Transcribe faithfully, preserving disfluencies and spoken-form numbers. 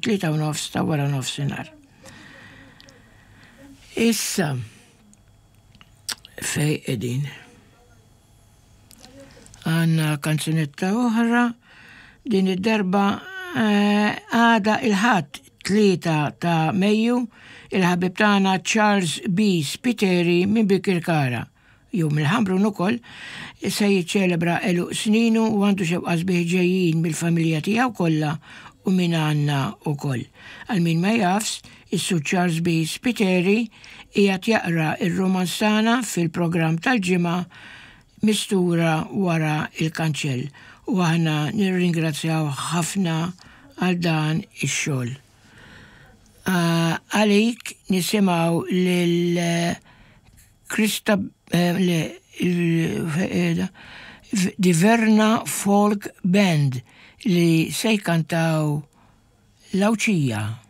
it-tlieta u nofs ta' wara nofsinhar. Issa, fejn qegħdin? Għandna kanzunetta oħra, din id-darba eh, għada il-Ħadd tlieta ta' Mejju, il-ħabib tagħna Charles B. Spiteri minn Bikirkara jew mill-Ħamrun ukoll se jiċċelebra għeluq sninu u għandu xewqat sbieħ ġejjin mill-familja tiegħu kollha u minn għandna ukoll. Għal min ma jafx, is-Sur Charles B. Spiteri qiegħed jaqra ir-romanz tagħna fil-programm tal-Ġimgħa Mistura wara il-kanċell u aħna nirringrazzjaw ħafna għal dan ix-xogħol. Għalik nisimgħu lil Krista le, Diverna Folk Band li se jkantaw L-Awċija.